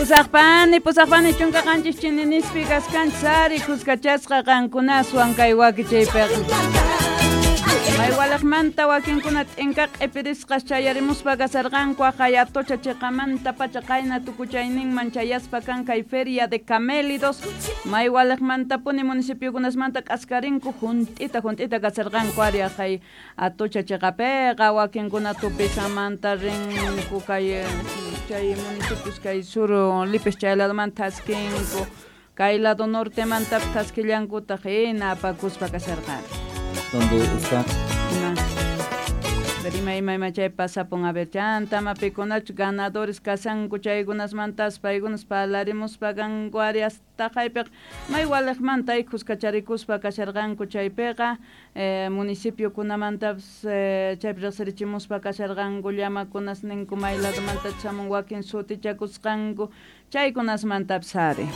Pusaqpani 17 chininispi kaskanchis ari kuskachasqa qankunaswan kay wakichaypiqa. Maywalaqmanta wakinkuna t'inka q'ipirisqas chayarimuspa kasarqanku aqhay Atocha chiqamanta pacha qayna tukuchayninman chayaspa kan kay Feria de Camélidos. Maywalaqmantapuni municipiokunasmanta k'askarinku junt'ita junt'ita kasarqanku ari aqhay Atocha chiqapiqa wakinkuna Tupisamanta rinku kay chay municipios kay sur Lipis chay ladomanta thaskinku kay lado nortemantapis thaskillankutaq hina apakuspa kasharqanku. Donde está? Ima? Ver ima ima ima chay pasapun a ver chanta ma pikunachus ganadores kashanku chaykunasmantas paykunas parlarimuspa kanku ari hasta haypiqa may waliqmanta ay kuskacharikuspa kasharqanku chaypiqa municipiokunamantapis chaypi riqsirichimuspa kasharqanku llamakunas ninku may ladomanta chamun wakin sutichakusqanku chaykunasmantapis ari.